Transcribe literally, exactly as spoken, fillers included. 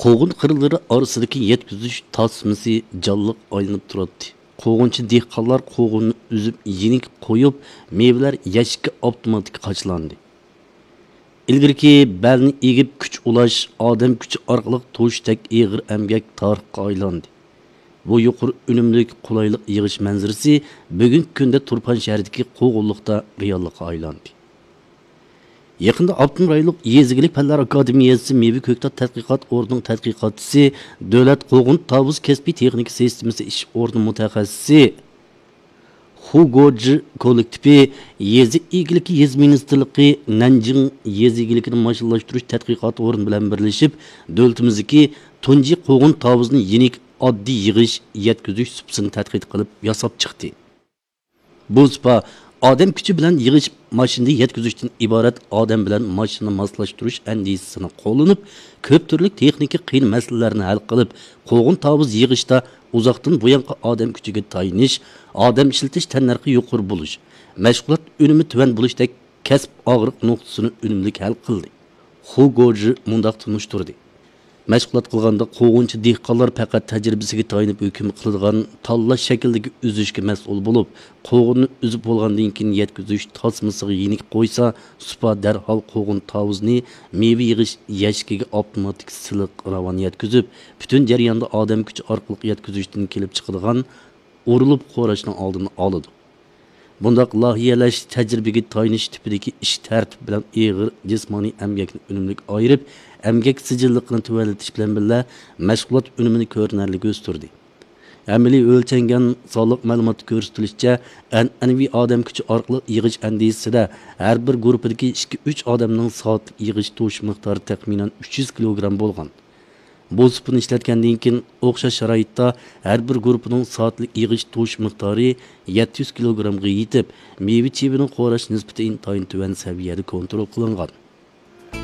قوغۇن قىرلىرى ئارىسىدىكى يەتكۈزۈش تاسمىسى جانلىق ئايلىنىپ تۇراتتى. قوغۇنچى دېھقانلار قوغۇننى ئۈزۈپ يېنىك قويۇپ، مېۋىلەر يەشىككە ئاپتوماتىك قاچىلاندى. ئىلگىرىكى بەلنى ئېگىپ كۈچ ئۇلاش، ئادەم كۈچى ئارقىلىق توشۇشتەك ئېغىر ئەمگەك تارىخقا ئايلاندى. بۇ يۇقىرى ئۈنۈملۈك، قولايلىق يىغىش مەنزىرىسى بۈگۈنكى كۈندە تۇرپان شەھىرىدىكى قوغۇنلۇقتا رېئاللىققا ئايلاندى. يېقىندا ئاپتونوم رايونلۇق يېزا ئىگىلىك پەنلەر ئاكادېمىيەسى مېۋە كۆكتات تەتقىقات ئورنىنىڭ تەتقىقاتچىسى، دۆلەت قوغۇن تاۋۇز كەسپىي تېخنىكا سىستېمىسى ئىش ئورنى مۇتەخەسسىسى خۇ گوجى كوللېكتىپى يېزا ئىگىلىكى، يېزا مىنىستىرلىقى، نەنجىڭ يېزا ئىگىلىكىنى ماشىنىلاشتۇرۇش تەتقىقات ئورنى بىلەن بىرلىشىپ، دۆلىتىمىزدىكى تۇنجى قوغۇن تاۋۇزنى يېنىك ئاددىي يىغىش، يەتكۈزۈش سۇپىسىنى تەتقىق قىلىپ ياساپ چىقتى. بۇ سۇپا ئادەم كۈچى بىلەن يىغىش، ماشىنىدا يەتكۈزۈشتىن ئىبارەت ئادەم بىلەن ماشىنىنى ماسلاشتۇرۇش ئەندىزىسىنى قوللىنىپ، كۆپ تۈرلۈك تېخنىكا قىيىن مەسىلىلەرنى ھەل قىلىپ، قوغۇن تاۋۇز يىغىشتا ئۇزاقتىن بۇيانقى ئادەم كۈچىگە تايىنىش، ئادەم ئىشلىتىش تەننەرخى يۇقىرى بولۇش، مەشغۇلات ئۈنۈمى تۆۋەن بولۇشتەك كەسىپ ئاغرىق نۇقتىسىنى ئۈنۈملۈك ھەل قىلدى. خۇ گوجى مۇنداق تونۇشتۇردى. مەشغۇلات قىلغاندا قوغۇنچى دېھقانلار پەقەت تەجرىبىسىگە تايىنىپ ھۆكۈم قىلىدىغان تاللاش شەكلىدىكى ئۈزۈشكە مەسئۇل بولۇپ، قوغۇننى ئۈزۈپ بولغاندىن كېيىن يەتكۈزۈش تاسمىسىغا يېنىك قويسا، سۇپا دەرھال قوغۇن تاۋۇزنى مېۋە يىغىش يەشىكىگە ئاپتوماتىك سىلىق راۋان يەتكۈزۈپ، پۈتۈن جەرياندا ئادەم كۈچى ئارقىلىق يەتكۈزۈشتىن كېلىپ چىقىدىغان ئۇرۇلۇپ خوراشنىڭ ئالدىنى ئالىدۇ. بۇنداق لايىھەلەش، تەجرىبىگە تايىنىش تىپىدىكى ئىش تەرتىپى بىلەن ئېغىر جىسمانىي ئەمگەكنى ئۈنۈملۈك ئايرىپ، ئەمگەك سىجىللىقىنى تۆۋەنلىتىش بىلەن بىللە، مەشغۇلات ئۈنۈمىنى كۆرۈنەرلىك ئۆستۈردى. ئەمەلىي ئۆلچەنگەن سانلىق مەلۇماتتا كۆرسىتىلىشىچە، ئەنئەنىۋى ئادەم كۈچى ئارقىلىق يىغىش ئەندىزىسىدە ھەر بىر گۇرۇپپىدىكى ئىككى، ئۈچ ئادەمنىڭ سائەتلىك يىغىش توشۇش مىقدارى تەخمىنەن ئۈچ يۈز كىلوگرام بولغان. بۇ سۇپىنى ئىشلەتكەندىن كېيىن، ئوخشاش شارائىتتا ھەر بىر گۇرۇپپىنىڭ سائەتلىك يىغىش توشۇش مىقدارى يەتتە يۈز كىلوگرامغا يېتىپ، مېۋە چېۋىنىڭ خوراش نىسبىتى ئىنتايىن تۆۋەن سەۋىيەدە كونترول قىلىنغان.